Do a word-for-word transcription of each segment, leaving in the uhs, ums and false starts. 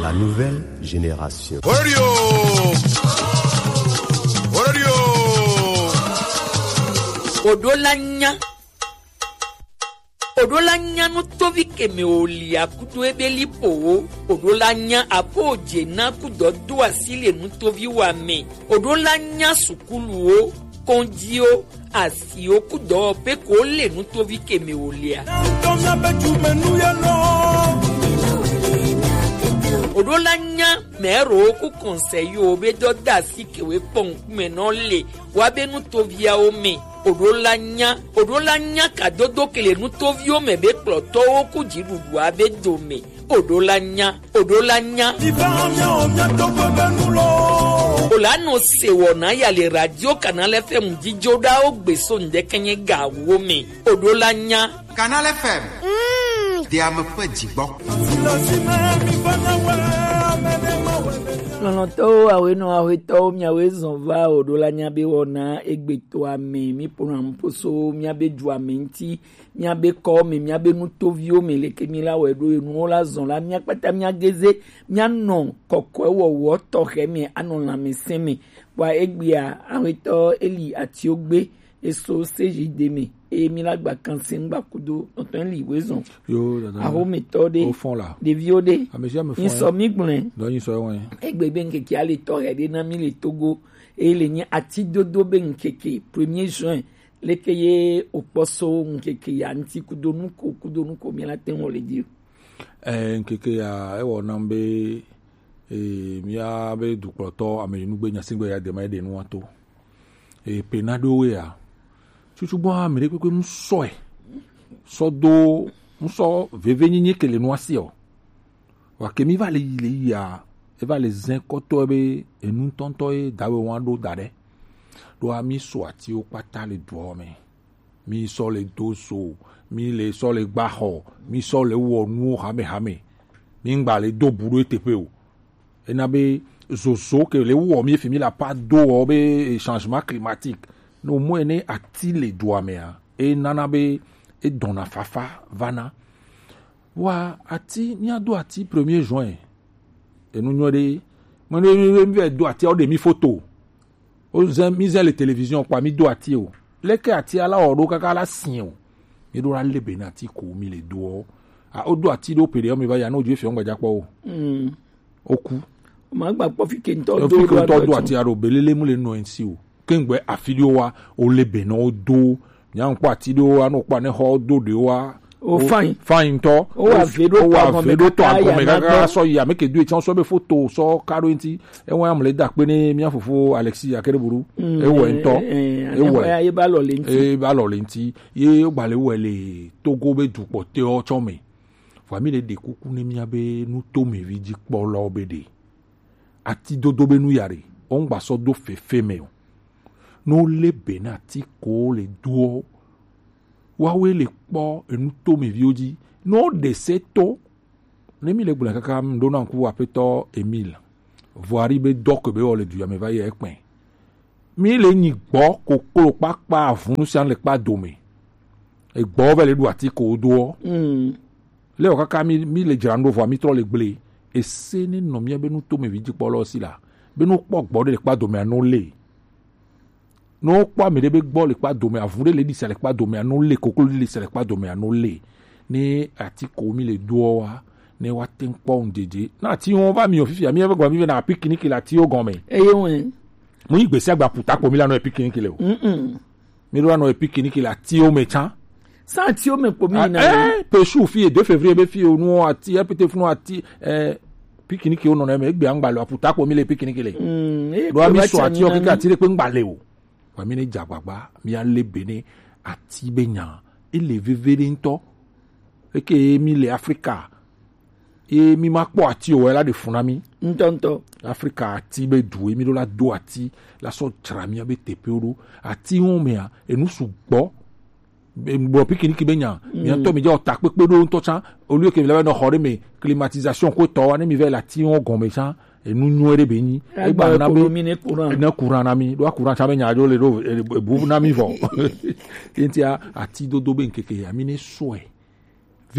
La nouvelle génération. Radio. Radio. Odola nya. Odola nya nutovi keme olia kudo ebeli po. Odola nya abo jena kudo do asile nutovi wa me. Odola nya sukulu o, konji o, asi o kudo pe ko le nutovi keme olia. Odola nya mero ku kɔnsɛyi o be dɔ da si kewe kpɔn kume nɔ le wa be nutovia o me. Odola nya, odola nya ka dodo kele nutovio me be kplɔtɔwo ku jiɖuɖua be do me. Odola nya, odola nya. Ola nɔ se wɔ na ya le radio Canal F M jijo ɖa o gbe so ŋdɛkɛnyɛ ga wo me. Odola nya. Canal F M. Diame ƒe dzigbɔ. Lɔlɔ̃tɔwo, awoenɔ, awoetɔwo, miawoe zɔn va odola nya be wɔna egbetoa me. Mi ƒona nuƒo so miabe dua me ŋuti, miabe kɔ me, miabe nutoviwo me, leke mi la wɔe ɖo enuwo la zɔn la, mia kpata mia geze, mia nɔ kɔkɔe wɔwɔ tɔxɛ me, anɔ lãmesẽ me. Kpɔa egbea, awoetɔ Eli Atiogbe, eso seji de me, eye mi la gba kansi ŋgba kudo nɔtɔn li wezɔn. Yo, dada. Ahometɔ ɖe, o fɔn la. Ɖeviwo ɖe. Ame sia ame fɔn. Ŋsɔ mi gblɔe. Dɔ ŋsɔ wɔn. Egbe be ŋkeke ale tɔ he ɖe na mi le Togo, eye le nye ati dodo be ŋkeke premier juin, leke ye okpɔ so ŋkeke ya ŋti kudo nuko, kudo nuko mi la te wɔ le di. Eh, ŋkeke ya, ewɔ nam be, eh, mia be dukplɔtɔ ame yi nugbe nyasigbe ya de ma ye ɖe nua to. Eye pe na ɖewo ya. Tsutsu gbɔ ame ɖe kpekpe ŋsɔe. Sɔ do ŋsɔ veve nyenye ke le nua si o. Wa ke mi va le yi le yi ya. Eva le zɛn kɔtɔ be enu ŋutɔŋutɔ ye dawe wa ɖo da ɖe. Ɖo ami so atiwo kpata le dua me. Mi sɔ le do zo, mi le sɔ le gba xɔ, mi sɔ le wɔ nuwo hamehame. Mi ŋgba le do bu ɖo eteƒe o. Ena be zozo ke le wɔ mi fi mi la pa do wɔ be changement climatique. No mo ene ati le dua mea, e nana be e dɔna fafa vana. Wa ati, mi ado ati premier juin. Enu nyɔ ɖe. Mo ne mi, mi, mi do ati o de mi photo. O zɛ, mi zɛ le télévision kpa mi do ati o. Leke ati ala o ɖo kaka la si o. Mi ɖo la le be na ati ko mi le do o. A o do ati ɖo pe ɖe o mi va ya no ju fi o ŋgba ja kpɔ o. Mm. O ku. Ma gba kpɔ fi ke ŋtɔ do. Fi ke ŋtɔ do ati alo belele mu le nɔ ŋsi o. Ke ŋgbe afi ɖewo wa o le be na o do. Nya ŋkpɔ ati ɖewo wa no kpɔ ne xɔ do ɖewo wa. O fain. Fain ŋtɔ. O wa ve ɖo tɔ agɔme kaka sɔ yi ame ke do etsɔ sɔ be foto sɔ ka ɖo ŋti. Ewa amle da kpe ne mia fofo Alexis Akereburu. Ewɔ ŋtɔ. Ewɔ. Ye ba lɔ le ŋti. Ye ba lɔ le ŋti. Ye gba le wɔ le Togo be dukpɔ te o tsɔ me. Vɔ mi le ɖe kuku ne mia be nu to me vi dzi kpɔ lɔ be ɖe. Ati dodo be nu ya ɖe, o ŋgba sɔ do fefe me o. No le be na ati ko le doɔ, wawe le kpɔ enu to me viwo dzi. No ɖe se to, ne mi le gblɔ kaka ɖo na ŋku aƒetɔ Emile. Voari be dɔ ke be wɔ le du ya me va yi ekpɛ. Mi le nyi gbɔ koklo kpakpa avunu sia le kpa dome. Egbɔ vɛ le ɖu ati ko doɔ. Mm. Le o kaka mi, mi le dzra ŋɖo vɔa mi trɔ le gble. Ese ne nɔ mia be nu to me vi dzikpɔlɔ si la. Be nu kpɔ gbɔ ɖe le kpa dome ano le. Ne wokpɔ ame ɖe be gbɔ le kpa dome, avu ɖe le ɖisa le kpa dome ano le, koklo ɖe le sa le kpa dome ano le. Ne ati ko mi le doɔ wa, ne wa te ŋkpɔ ŋdzedze. Na ati wo va mi o fifia, mi ebe gba mi ve na pikiniki le atiwo gɔme. Eye wɛ. Mo yi gbesi agba puta kpo mi la no pikiniki le o. Mm-mm. Mi ɖo anɔ epikiniki le atiwo me tsã. Sa atiwo me kpo mi yina. Eh, pesu fi deux février be fi o nu ati, epete funu ati, eh, pikiniki wo nɔ na me, egbe angba le aputa kpo mi le pikiniki le. Mm, e ɖo ami so ati o keke ati ɖe kpe ŋgba le o. Wa mi ne dza gbagba, mi ale be ne ati be nya, ele veve ɖe ŋtɔ. Eke mi le Afrika, ye mi ma kpɔ ati o, ela ɖe fu na mi. Ŋutɔŋutɔ. Afrika ati be du, ye mi ɖo la do ati, la sɔ dzra mia be teƒewo ɖo. Ati wo mea, enu sugbɔ. Be, gblɔ pikiniki be nya, mia ŋutɔ mi dze o takpekpe ɖo ŋutɔ tsã, olu ke mi la be nɔ xɔ ɖe me, climatisation ko tɔ wa, ne mi vɛ le ati wo gɔme tsã, enu nyuie ɖe be nyi. Egba na be, ne courant na mi, ɖo courant tsã be nya ɖo le ɖo, e, e, bu na mi vɔ. Ye ŋutia, ati dodo be ŋkeke ya, mi ne sɔe.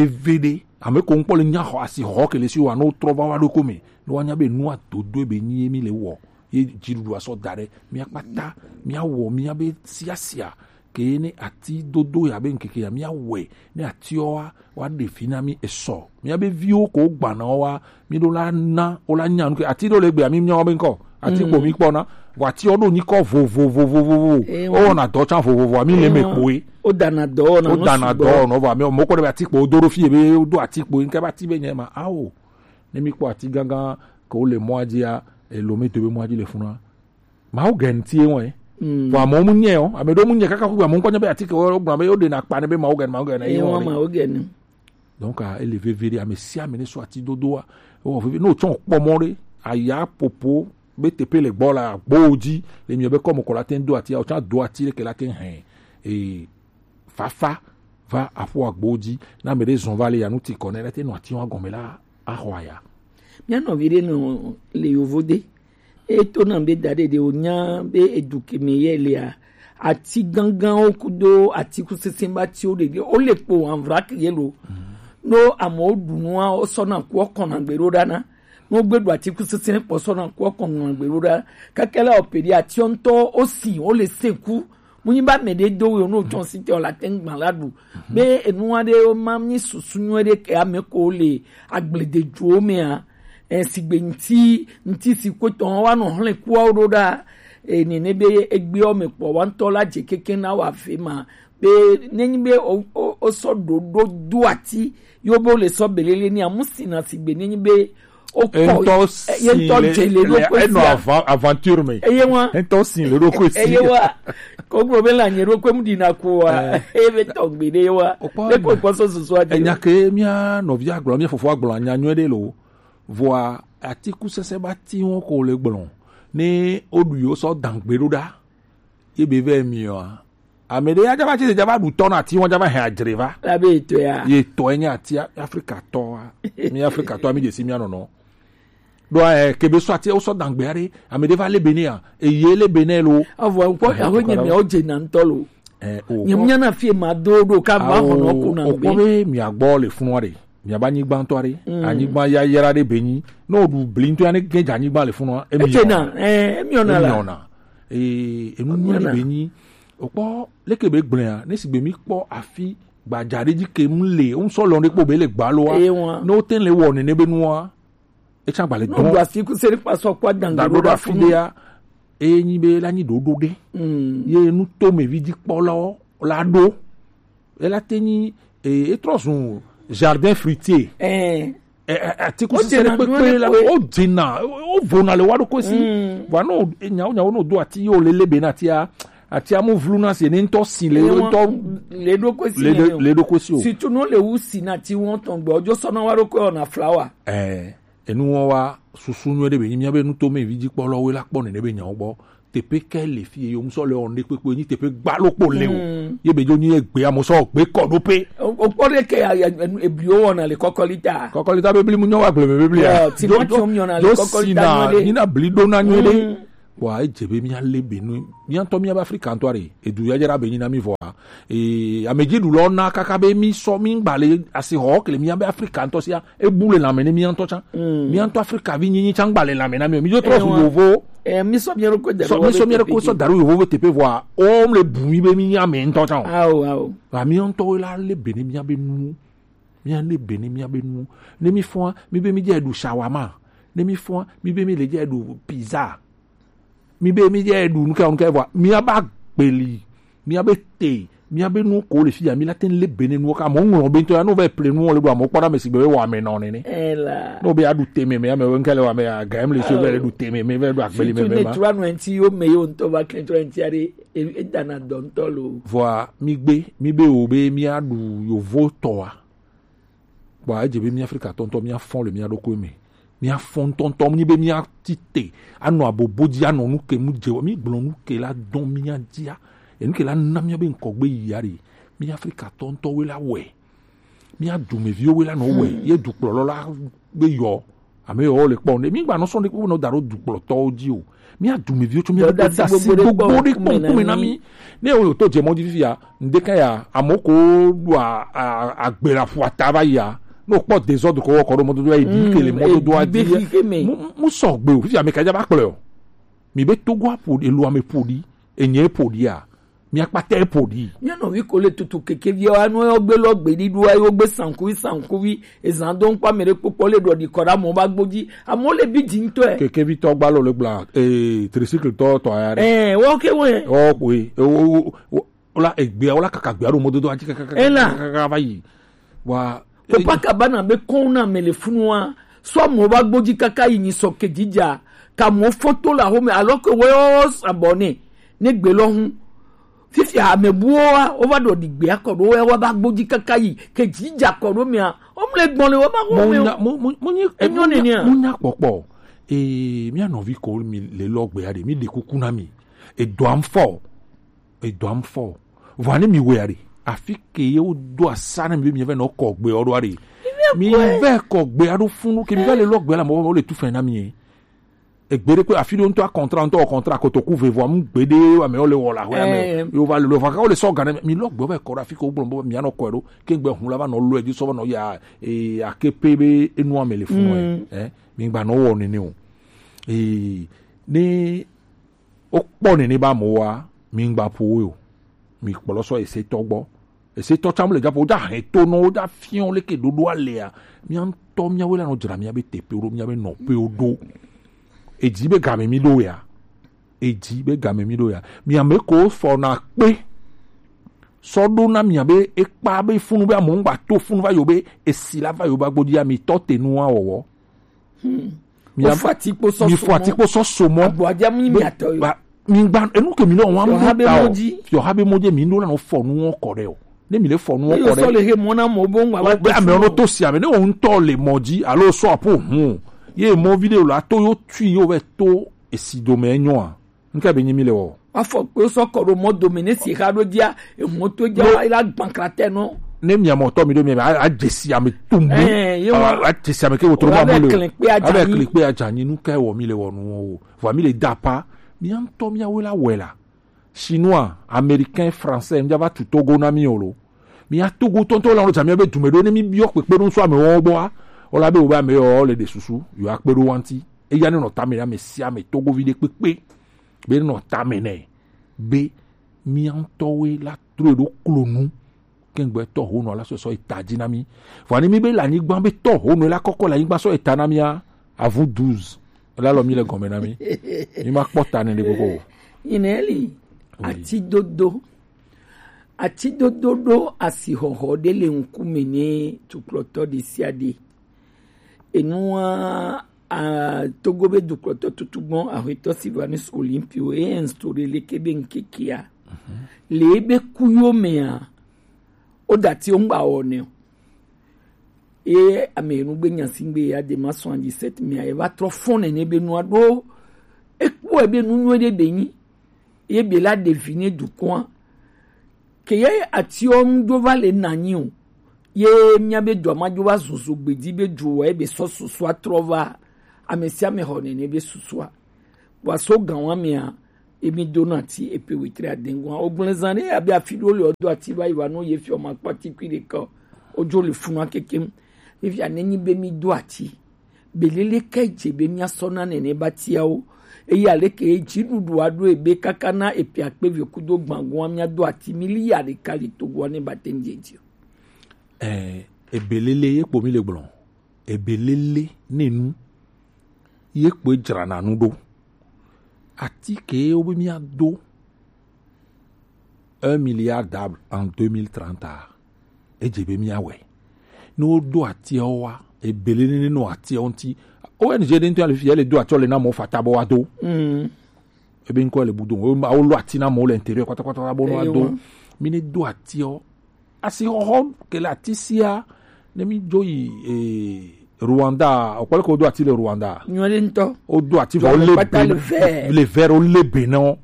veve ɖe. Ame ko ŋkpɔ le nya xɔ asi xɔ ke le si wa no trɔ va wa ɖo ko me. No wa nya be nua dodo be nyi mi le wɔ. Ye dziɖuɖu asɔ da ɖe. Mia kpata, mia wɔ, mia be siasia. Ke ne ati dodo ya be ŋkeke ya mia wɛ. Ne atiɔ wa, wa ɖe fi na mi esɔ. Mia be viwo ko gbana wa, mi ɖo la na, o la nya nu ke. Ati ɖo le gbe mi mia wa be ŋkɔ. Ati ko mi kpɔ na. Vɔ atiɔ ɖo nyi kɔ vovovovovovo. Eh, o wa. Na dɔ tsa vovovo, mi le me kpoe. O dana dɔ na. O dana dɔ no va mi mo ko de ati ko do ɖo fi be o do ati ko nke ba ti be nye ma. Awo. Ne mi kpɔ ati gangan ko le mɔ adzi a, elo mi to be mɔ adzi le funa. Mawu gɛn ti wɔn. Vɔ amewo mu nyɛ o, ame ɖewo mu nyɛ kaka kugbe amewo ŋkɔ nye be ati ke wo gblɔ be wo ɖe na kpa ne be mawu gɛn, mawu gɛn, eye wɔn. Mawu gɛn. Donc ah, ele veve ɖe ame sia ame ne sɔ ati dodo wa. Ewɔ veve ne o tsɔ kpɔ mɔ ɖe aya popo be tepe le gbɔ la gbo dzi le mi be kɔmɔ kɔ la te do ati o tsɔ do ati le ke la te hɛn. E fafa va aƒu agbo dzi. Na ame ɖe zɔn va le ya nu ti kɔ ne la te nɔ ati wa gɔme la axɔ aya. Mía nɔvi ɖe nɔ le yovo de. Eto na be da ɖe ɖe wonya be edu ke me ye lea. Ati ganganwo kudo atikusese ba tiwo ɖe ge. Wo le kpo anvrak ye lo. No amewo ɖu nua, wosɔ na ku wokɔna gbe ɖo ɖa na. No gbe ɖu atikusese kpɔ sɔ na ku wokɔna gbe ɖo ɖa. Kaka la ope ɖi atiɔ ŋutɔ wosi, wo le se ku. Mu nyi ba me ɖe do wo no tsɔ si te o la te ŋgba la ɖu. Be enu aɖe wo ma mi susu nyuie ɖe ke ame ko le agblededuwo mea. E, sigbe ŋti, ŋti si kpotɔ wa nɔ hlẽ kuawo ɖo ɖa. E, nene be egbewo me kpɔ wa ŋutɔ la dze keke na wa fe ma. Be nenyi be o, o, o sɔ ɖo ɖo do ati, yo be wo le sɔ belele ni amu si na sigbe nenyi be o kɔ, ŋutɔ e, ye si ŋutɔ le, dze le ɖo le, ko enɔ sia. Avan-, aventure me. Eye wa. Ŋutɔ si le ɖo ko si. Eye wa. Ko gblɔ be la nye ɖo ko mu ɖi na ko wa. Eh. Eye be tɔ gbe ɖe wa. O kpɔ le ko enya. Kpɔ sɔ susu adi. Enya ke mía nɔvi agblɔ, mía fofo agblɔ anya nyuie ɖe lo. Vɔa atikusese ba ti wɔn ko le gblɔ. Ne o ɖu yo sɔ dangbe ɖo ɖa. Ye be vɛ mi wa. Ame ɖe ya java tsi java ɖu tɔ na ati wɔn java hɛn adzre va. La be etɔ ya. Ye tɔ enye ati Afrika tɔ wa. Mi Afrika tɔ mi de si mi anɔnɔ. Ɖo eh, ke be sɔ ati wosɔ dangbe aɖe. Ame ɖe va le bene ya. Eye le bene lo. Avɔ kpɔ aho nye mi o dze na ŋutɔ lo. Eh, o. Nye mia na fie ma do ɖo ka va xɔ nɔ ko na o gbe. Kpɔ be mi agbɔ le funu aɖe. Mi aba anyigba ŋutɔ aɖe. Mm. Anyigba yayra ɖe be nyi. No ɖu bli ŋutɔ ya ne ge dze anyigba le funu. Etsena, eh, emi ona la. Emi ona. Eh, enu nyuie ɖe be nyi. Okpɔ leke be gblẽa, ne sigbe mi kpɔ afi gbadza ɖe dzi ke mu le, ŋsɔ lɔ ɖe kpɔ be le gbalo wa. Eye wa. Ne wote le wɔ nene be nua, etsa gba le dɔn. No do asi ku se ɖe kpa sɔ kpɔ dangbe ɖo ɖo afi ɖe ya. Eye nyi be la nyi ɖoɖo ɖe. Mm. Ye nu to me vi dzi kpɔ lɔ la ɖo. Ela te nyi, e, etrɔ zun jardin fruitier. Eh. E, e, atikusese ɖe kpekpe la, o dzena, o vona le wa ɖo kosi. Mm. Vɔ no, e, nyawo, nyawo no do ati yo le lebe na atia, atia mu vlu na se ne ŋutɔ si le ŋutɔ le ɖo kosi le ɖo kosi o. Surtout no le wu si na ti wɔn tɔn gbɔ, ojo sɔ na wa ɖo ko na flower. Eh, enu wɔn wa susu nyuie ɖe be nyi mía be nu to me vi dzi kpɔ lɔ we la kpɔ nene be nyawo gbɔ. Teƒe ke le fi ye ŋusɔ le wɔn ɖe kpekpe nyi teƒe gbalo kpo le o. Mm. Ye be dzo nyi egbe amo sɔ gbe kɔ ɖo pe. O kpɔ ɖe ke ya, ya, ebliwo wɔna le kɔkɔli ta. Kɔkɔli ta bebli mu nyɔ wa gbleme bebli ya. Yo, timati wo nyɔna le kɔkɔli ta nyuie ɖe. Nyina bli ɖo na nyuie ɖe. Mm. Wa edze be mía le be nu. Mía ŋutɔ mía be Afrika ŋutɔ ɖe. Edu ya dze ɖa be nyina mi vɔa. E, amedzi ɖu lɔ na kaka be mi sɔ mi gba le asi xɔ ke le mía be Afrika ŋutɔ sia. Ebu le lãme ne mía ŋutɔ tsã. Mm. Mía ŋutɔ Afrika vi nyinyi tsã gba le lãme na mí o. Mí dzo trɔ zu yovo. Eh, mí sɔ mía ɖokui da ɖo yovo be teƒe vɔa, wo le bu mí be mí nye ame ŋutɔ tsã o. Ao, ao. Vɔ mía ŋutɔwo la le be ne mía be nu. Mía le be ne mía be nu. Ne mí fɔa, mí be mí dze ɖu shawarma. Ne mí fɔa, mí be mí le dze ɖu pizza. Mi be mi dze ɖu nuke nuke vɔa, mía ba gbeli, mía be te, mía be nu ko le fi ya, mi la te le be ne nuwo ka mo ŋlɔ be ŋutɔ ya, no be ple nuwo le ɖo amo kpɔ ɖa me si be wɔ ame nɔ nene. Ela. No be aɖu te me, me ame wo ŋke le wɔ ame ya, ga em le si be le ɖu te me, me be ɖu agbeli me me ma. Surtout ne tura nu enti yo me yo ŋutɔ va kle tura enti aɖe, e, e dana dɔ ŋutɔ lo. Vɔa, mi gbe, mi be wo be mi aɖu yovo tɔa. Kpɔa, edze be mí Afrikatɔ ŋutɔ míafɔ le mía ɖokui me. Míafɔ ŋutɔŋutɔ, mí be míati te, anɔ abobo dzi, anɔ nu ke mu dze, mí gblɔ nu ke la dɔn mía dzia. Enu ke la na mía be ŋkɔgbe yi ya ɖe. Mí Afrikatɔ ŋutɔwoe la wɔe. Mía dumeviwo woe la nɔ wɔe. Hmm. Ye dukplɔlɔ la be yɔ. Ame yawo le kpɔ ne mi gba nɔ sɔn ɖe kpekpe nɔ da ɖo dukplɔtɔwo dzi o. Mi adumeviwo tso mi ɖo dasi gbogbo ɖe kpɔ ŋkume na mi. Ne wo to dze mɔ dzi fifia, ŋde ka ya, amewo ko ɖo a- a- agbe la ƒu ata va yia. Ne wokpɔ dezɔdu ko wɔkɔ ɖo mɔdodo ya yi bi ke le mɔdodoa dzi. Mu mu sɔgbe o, fifia ame ka dza va kplɔe o. Mi be Togo aƒo ɖi, elu ame ƒo ɖi, enye ƒo ɖia. Miakpata eƒo ɖi. Mía nɔvi ko le tutu kekeviawo anu yɔ gbe lɔ gbe ɖiɖo ayi wo gbe sankuvi sankuvi ezan do ŋkpa mɛ ɖe kpokpɔ le ɖɔ ɖi kɔ ɖe amewo ba gbo dzi amewo le bi dzi ŋutɔe. Kekevitɔ gba lɔ le gbla ee tricycle tɔ tɔ ya ɖe. Ɛɛ wɔ ke wɔ yɛ. Wɔ koe ewo wo wo la egbea wo la kaka gbea ɖo mɔdodo adzi kaka kaka kaka va yi. Wa Copacabana be kɔn na me le funua sɔ mo ba gbodzi kaka yi nyi sɔ ke dzidza ka mo foto la home alors que wo abonné ne gbe lɔ hu fifia ame buwo wa wo va ɖɔ ɖi gbe akɔ ɖo wo wa ba gbodzi kaka yi ke dzidza kɔ ɖo mea wo mle gbɔn le wo ma mo ho me nya mo mo mo nye enyo ne nia mo nya kpɔkpɔ ee mía nɔvi ko mi le lɔ gbea ɖe mi ɖe kuku na mi edɔa ŋfɔ edɔa ŋfɔ vɔa ne mi wea ɖe afi ke ye wo do asa ne mi be mi vɛ nɔ kɔ gbe ɔɖoa ɖe mi vɛ kɔ gbe aɖo funu ke mi vɛ le lɔ gbe la mɔ wo le tu fɛ na mi ye egbe ɖe kpe afi ɖo ŋutɔ akɔntra ŋutɔ kɔntra kotoku ve vɔa mu gbe ɖe ame wo le wɔ la hɔ ame yo va le lo va ka wo le sɔ gan ne mi lɔ gbe vɛ kɔ ɖe afi ke wo gblɔ be mi anɔ kɔe ɖo ke gbe hun la va nɔ lɔ edzi sɔ va nɔ ya ee ake pe be enu ame le funu ɛ mi gba nɔ wɔ nene o ee ne wokpɔ nene ba amewoa mi ŋgba ƒo wo o mi kplɔ sɔ esetɔ gbɔ esetɔ tsamu le dzaƒo wodza hɛn to nɔ wodza fiɔ leke ɖoɖoa lea mia ŋutɔ miawoe la nɔ dzra mia be teƒewo ɖo mia be nɔƒewo ɖo edzi be game mi ɖo ya edzi be game mi ɖo ya mi ame ko fɔ na kpe sɔ ɖo na mia be ekpa be funu be amewo ŋgba to funu va yo be esi la va yo ba gbodzi ami tɔ te nua wɔwɔ Mia- Wofɔ atikpo sɔ mi fɔ atikpo sɔ so mɔ. Abɔadza mu nyi miatɔ yo. Ba- mi gba enu ke mi lɔ wɔn Fiɔha be mɔ dzi. Fiɔha be mɔ dzi mi ɖo la nɔ fɔ nuwɔ kɔ ɖe o ne mi le fɔ nuwɔ kɔ ɖe. Sɔ le he mɔ na mɔ bo ŋgba wa be ame wo to si ame ne wo ŋutɔ le mɔ dzi alo sɔ apo hun o ye mɔ vi ɖe o la to yo tui yo vɛ to esi dome enyɔa. Nke be nyi mi le wɔ. Afɔ kpe sɔ kɔ ɖo mɔ dome ne si xa ɖo dzia emɔ to dzia wa ila gbankratɛ nɔ. Ne mia mɔ tɔ mi ɖo mi a a dzesi ame tum. Ɛɛ ye wa a dzesi ame ke wotoro ma mu le o abe kle kpe adza nyi nu ka wɔ mi le wɔ nu o vɔ mi le da pa mia ŋutɔ mia wo la wɛ la chinois américain français mi va tu togo na mi o lo mia togo tɔntɔ la wo dza mia be dume ɖo ne mi biɔ kpekpe ɖo ŋsu ame wɔ gbɔa wala be wo be ame yɔ le ɖe susu yɔ akpe ɖo wa ŋti eya ne nɔ tame na ame sia ame togovi ɖe kpekpe be nɔ tame nɛ be mia ŋutɔwoe la trɔe ɖo klonu kɛŋgbɛ tɔ honɔ la sɔ sɔ eta dzi na mi vɔ ani mi be le anyigba be tɔ honɔ la kɔkɔ le anyigba sɔ eta na mia avu douze la lɔ mi le gɔme na mi mi ma kpɔ ta ne ɖe gbogbo o. Yineli atidodo atidodo ɖo asixɔxɔ ɖe le ŋkume ne tukplɔtɔ ɖe sia ɖe enua a Togo be dukplɔtɔ tutugbɔn ahwetɔ Sylvanus Olympio e instaure leke be ŋkekea le ebe kuyo mea o dati o ŋgba wɔ ne o ye ame enu gbe nya si gbe ya de ma soixante-dix-sept mea e va trɔ fɔn nene be nua ɖo ekpɔ ebe nu nyuie ɖe be nyi ye be la ɖevi ne dukɔa ke ye atiɔ ŋu dzo va le nanyi o ye mia be dua ma dzo va zuzu gbedi be dzo wɔ ebe sɔ susua trɔ va ame sia ame xɔ nene be susua wa so gan wa mea emi do na ti epe wetri adengu o gblẽ zan ɖe abe afi ɖo le o do ati va yi va no ye fi o ma kpati kui ɖe ka o dzo le funua kekem ye fi ane nyi be mi do ati Belele kae dze be míasɔ na nene batiawo? Eye aleke ye dziɖuɖua ɖo ebe kaka na epe akpe eve kudo gbãgoa míado ati miliya ɖeka le Togoa ne bate ŋu dze dzi o? Ɛɛ, ebelele ye kpo mi le gblɔ. Ebelele nenu ye kpoe dzrana nu ɖo. Ati ke wobe míado un milliard d'arbres en deux mille trente a, edze be míawɔe. Ne woɖo atiawo wa, ebele nene nɔ atiawo ŋuti. O N G ɖe ŋutɔ ya le fi ya le do atiawo le na mɔ fata bɔ wa do. Mm. Ebe ŋkɔ le budo. Wo ma wo lɔ ati na mɔ le intérieur kpata kpata bɔ no wa do. Mi ne do atiawo. Asi xɔxɔ ke le ati sia ne mi dzo yi eh, Rwanda, okpɔle ko do ati le Rwanda. Nyɔ ɖe ŋutɔ. O do ati vɔ le be le vɛrɛ o le be na o.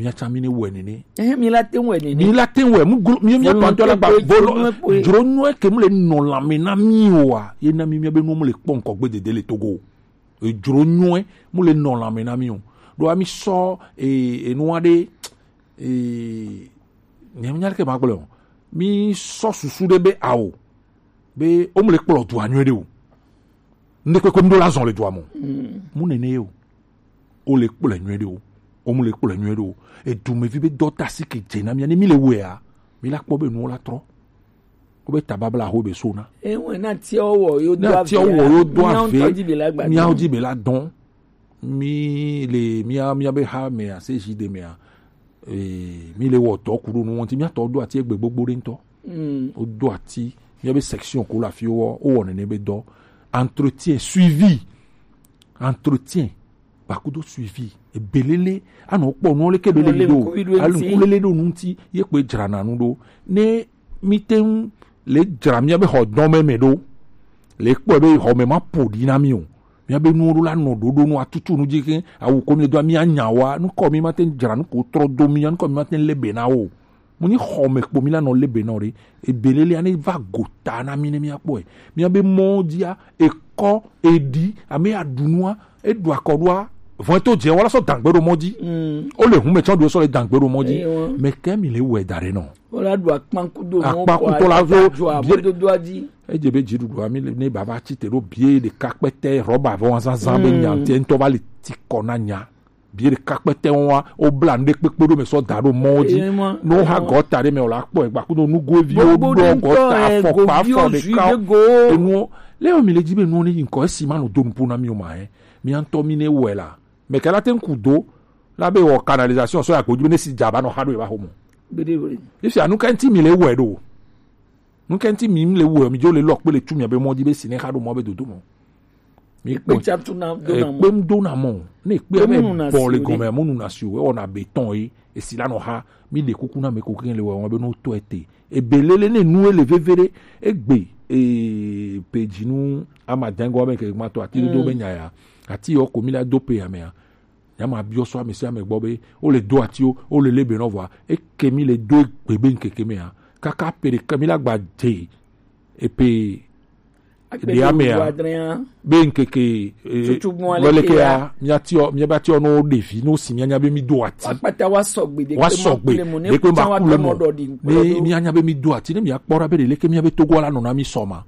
Mía tsã mí ne wɔe nene. Ɛhɛn, mí la te wɔe nene. Mí la te wɔe. Mu glo mí mía tɔ ŋutɔ la gba bolo. Dzro nyuie ke mu le nɔ lãme na mí o wa. Ye na mí mía be nu mu le kpɔ ŋkɔ gbe dede le Togo. Edzro nyuie mu le nɔ lãme na mí o. Ɖo ami sɔ e enua ɖe e nyɛ nya ke ma gblɔ o. Mí sɔ susu ɖe be ao be o mu le kplɔ dua nyuie ɖe o. Ŋɖe kpekpe ŋɖo la zɔn le dua mɔ. Mu nene ye o. O le kplɔe nyuie ɖe o. O mu le kplɔe nyuie ɖe o. Edumevi be dɔta si ke dze na mía ne mí le wɔea, mí la kpɔ be nuwo la trɔ. Wo be tababla ho be so na. Ewe na tia wo yo do ave. Na tia wo yo do ave. Mía ŋutɔ dzi be la gba. Mía dzi be la dɔn. Mí le mía mía be ha mea se zi de mea. Eh, mí le wɔ tɔ ku ɖo nu ŋuti mía tɔ do ati egbe gbogbo ɖe ŋutɔ. Wodo ati míabe section ko le afi wo wowɔ nene be dɔ. Entretien, suivi. Entretien kpakudo suivi. Ebelele anɔ kpɔ nuwo leke ɖo le yi ɖo. Alukulele ɖo nu ŋuti ye kpe dzrana nu ɖo. Ne mí te ŋu le dzra míabe xɔ dɔn me me ɖo, le kpɔe be xɔ me ma ƒo ɖi na mí o. Míabe nuwo ɖo la nɔ ɖoɖo nu atutu nu dzi ke awu ko mí do mía nya wa nukɔ mí ma te ŋu dzra nu ko trɔ do mía nukɔ mí ma te ŋu le be na wo. Mo nyi xɔ me kpo mí la nɔ le be nɔ ɖe. Ebelelea ne va go ta na mí ne mía kpɔe. Míabe mɔ dzia ekɔ eɖi ame ya ɖu nua eɖu akɔ ɖoa vɔn to dze wala sɔ dangbe ɖo mɔ dzi. O le hun me tsɔ ɖo sɔ le dangbe ɖo mɔ dzi. Mɛ kɛ mi le wɛ da ɖe nɔ. Wala ɖu akpankudonu akpankutɔ la zo dodoa dzi. Edze be dziɖuɖua mi ne baba tsi te ɖo bie ɖeka kpɛtɛ rɔba vɔ zazã be nya ŋutɛ ŋutɔ va le ti kɔ na nya. Bie ɖeka kpɛtɛ wa o bla nu ɖe kpekpe ɖo me sɔ da ɖo mɔ dzi. No ha gɔta ɖe me o la kpɔ egba kudo nugo evi o ɖɔ gɔta afɔkpa afɔ ɖeka o. Enu le mi le dzi be nu ne yi ŋkɔ esi ma no do nupo na mi o ma he. Mi ŋutɔ mi ne wɛ la. Me kɛ la te ŋku do la be wɔ canalisation sɔ ya gbo dzi be ne si dza ba nɔ xa ɖo e va xo mɔ. Gbeɖe gbeɖe. Ifi anu ka ŋti mi le wɛ ɖo. Nu ka ŋti mi le wɛ mi dzo le lɔ kpe le tu mi abe mɔ dzi be si ne xa ɖo mɔ be dodo mɔ. Mi kpe tsa tu na do na mɔ. Ekpe ŋ do na mɔ. Ne ekpe abe bɔ le gɔme mo nu na si o ewɔ na be tɔn ye esi la nɔ xa mi ɖe kuku na me ko ke le wɛ wɔn be no tɔ ete. Ebe lele ne nu ele veve ɖe egbe e pe dzinu ama dɛngɔ me ke ma to ati do be nya ya. Ati yɔ ko mi la do pe ya me ya. Ya ma biɔ sɔ ame sia ame gbɔ be wo le do ati o, wo le le be nɔ vɔa. Eke mi le do egbe be ŋkeke me ya. Kaka pe ɖe ke mi la gba de e pe ɖe ame ya. Be ŋkeke e wele ke ya mi ati o mi ba ti o no ɖevi no si mi anya be mi do ati. Wa kpata wa sɔgbe ɖe ke ma kule mo ne ku tsa wa kule mo ɖɔ ɖi. Ne mi anya be mi do ati ne mi akpɔ ra be ɖe leke mi abe togo la nɔ na mi sɔ ma.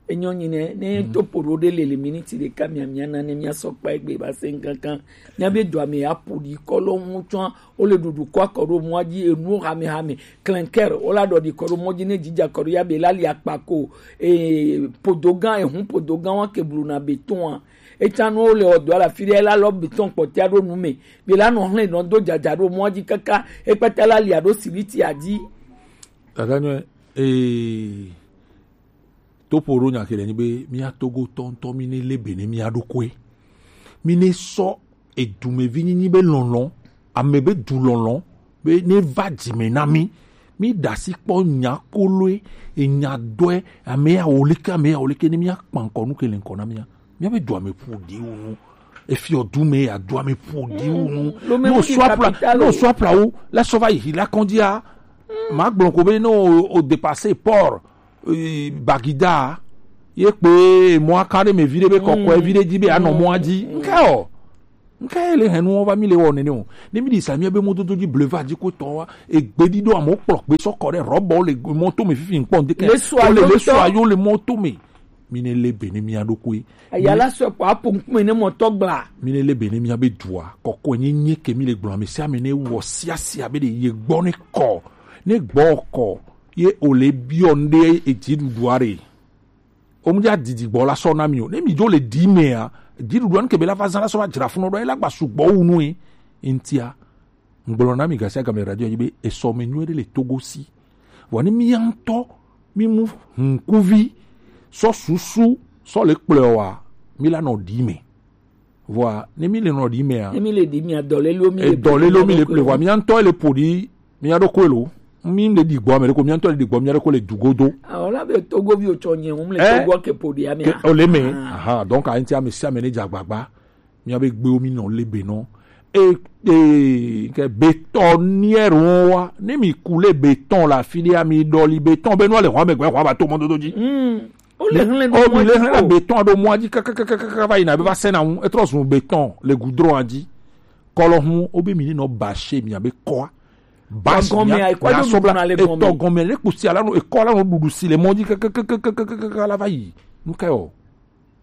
Enyɔ nyi ne ne to poɖo ɖe le le miniti ɖeka mia mia na ne mia sɔ kpa egbe ba se nkankan mia be dɔa me ya ƒo ɖi kɔlɔ ŋu tsɔa wo le ɖuɖu kɔ akɔ ɖo mɔa dzi enu hame hame klɛnkɛr wo la ɖɔ ɖi kɔ ɖo mɔ dzi ne dzidza kɔ ɖo ya be la li akpa ko ee podo gã ehun podo gã wa ke blu na be tɔa etsa nu wo le ɔdɔ la fi ɖe la lɔ be tɔn kpɔtia ɖo nu me be la nɔ hlɛ nɔ do dzadza ɖo mɔa dzi kaka ekpɛtɛ la lia ɖo sibiti adzi. Dada nyɔ ee. Topo ɖo nya ke le nyi be mía togo tɔntɔ mi ne le be ne mía ɖokoe. Mi ne sɔ edumevi nyinyi be lɔlɔ, ame be du lɔlɔ be ne va dzime na mi. Mi ɖasi kpɔ nya koloe, enya dɔe, ame ya wo leke, ame ya wo leke ne mía kpankɔ nu ke le ŋkɔ na mía. Mía be dua me ƒo ɖi wu nu. Efiɔ du me ya dua me ƒo ɖi wu nu. No sɔ apla, no sɔ apla wo, la sɔ va yi la kɔndia. Ma gblɔ ko be no o dépasser port. Bagida ye kpe mɔa ka ɖe me vi ɖe be kɔkɔe vi ɖe dzi be anɔ mɔa dzi. Nke o. Nke le henu va mi le wɔ nene o. Ne mi di sa mi be mɔdodo dzi bleva dzi ko tɔ wa egbe di ɖo amewo kplɔ gbe sɔ kɔ ɖe rɔbɔ le mɔto me fifi ŋkpɔ ŋdeke. Le sua yo le mɔto me. Mi ne le be ne mia ɖokoe. Aya la sɔ kɔ apo ŋkume ne mɔtɔ gbla. Mi ne le be ne mia be dua kɔkɔe nye nye ke mi le gblɔ ame sia ame ne wɔ sia sia be ɖe ye gbɔ ne kɔ ne gbɔ kɔ. Ye o le biɔ ŋɖe edziɖuɖua ɖe. O mu dza didi gbɔ la sɔ na mi o. Ne mi dzo le di mea, dziɖuɖua ŋke be la va zã la sɔ va dzra funɔ ɖo, ye la gba sugbɔ wu nu ye. Ŋtia, ŋgblɔ na mi gasia game radio yi be esɔ me nyuie ɖe le Togo si. Vɔ ne mi ya ŋutɔ, mi mu hunkuvi, sɔ susu, sɔ le kplɔe wa, mi la nɔ di me. Vɔa ne mi le nɔ ɖi mea, ne mi le ɖi mea dɔlelo mi le dɔlelo mi le ple vɔa mia ŋutɔ le ƒo ɖi mia ɖo koe lo. Mi le ɖi gbɔ ame ɖe ko mia ŋutɔ le ɖi gbɔ mia ɖo ko le du godo. Awɔ la be togovi o tsɔ nye ŋu le togo ke ƒo ɖi ame. O le me aha donc a ŋti ame sia ame ne dze agbagba mia be gbewo mi nɔ le be nɔ. E, e, ke bétonnière wa. Ne mi kule béton la fi de, ami dɔli béton be no le hwa me gbe hwa ba to mɔ dodo ji. O le hlẽ ɖo O mi le hlẽ la béton do mɔ ji kakakaka va yina be va sena ŋu, etrɔ zun béton le goudron a ji. Kɔlɔ hun o be mi ni nɔ bâcher mi abe kɔa. Bâche Gɔmɛ mi a, ekɔ do nukuna le gɔmɛ. Etɔ gɔmɛ le kusi ala no, ekɔ la no dudu si le mɔ ji kakakaka la va yi. Nu ka o.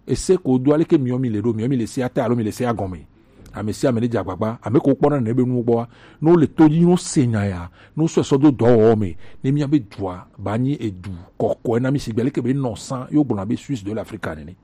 Ese ko do ale ke miɔ mi le do, miɔ mi le se ata alo mi le se agɔmɛ. Ame sia ame ne dze agbagba, ame ko kpɔna ne be nuwo gbɔa, ne wole to dzi, ne wose nya ya, ne wosɔe sɔ do dɔwɔwɔ me, ne míabe dua ba nyi edu kɔkɔe na mí, sigbe leke be nɔ sã, ye wogblɔna be Suisse de l'Afrique nene.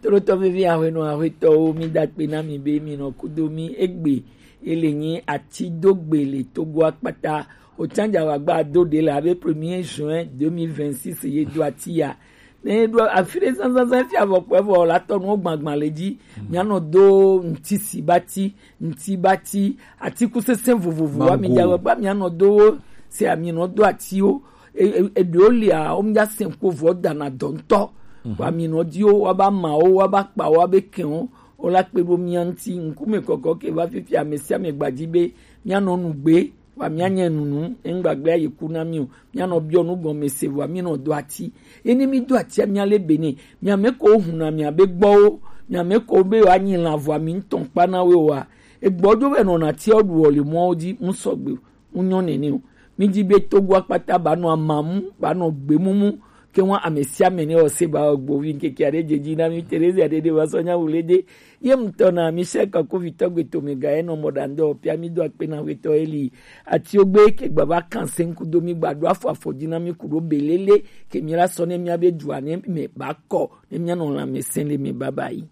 Tolotɔ vevi, aƒenɔ aƒetɔwo, mi da akpe na mi be mi nɔ kudo mi egbe. Ele nyi ati do gbe le Togo akpata. Otsanja wa gba do de la be premier juin deux mille vingt-six ye do ati ya. Ne ɖo afi ɖe zãzãzã fia vɔ kpɔe vɔ la tɔ nuwo gbagbã le dzi. Míanɔ do ŋuti si bati, ŋuti bati, atikusese vovovo wa mi dza gbagba míanɔ do wo. Se ami nɔ do atiwo. E- e- eɖewo lia wo mi dza se ko vɔ dana dɔ ŋutɔ. Wa mi nɔ di wo, wa ba ma wo, wa ba kpa wo, wa be kɛn wo. Wo la kpe ɖo mía ŋuti. Ŋkume kɔkɔ ke va fifia ame sia ame gbadzi be míanɔ nu gbe. Wa míanya nunu, eŋgbagblẽ ayi ku na mí o. Míanɔ biɔ nu gɔme se vɔa mínɔ do ati. Ene mí do atia mía le bene. Mía me ko hu na mía be gbɔwo. Mía me ko be wa nyi la vɔa mí ŋutɔ kpa na we wa. Egbɔ jo be nɔ na tia ɖu le mɔwo dzi, ŋu sɔgbe, ŋu nyɔ nene o. Mí dzi be Togo akpata ba nɔ amamu, ba nɔ gbemumu, ke wa ame sia ame ne o se ba gbovi ŋkeke aɖe dze dzi na mí Terezia ɖeɖe va sɔ nya wu le de. Ye ŋutɔ na mi se ka ko vitɔ gbe to me ga enɔ mɔ ɖa ŋdɔ pia mi do akpe na wetɔ eli. Ati ogbe ke gba va kan se ŋku do mi gba do afɔ afɔ dzi na mi ku ɖo belele ke mi la sɔ ne mía be dua ne me ba kɔ ne mía nɔ lãmesẽ le me baba yi.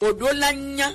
Oɖo la nya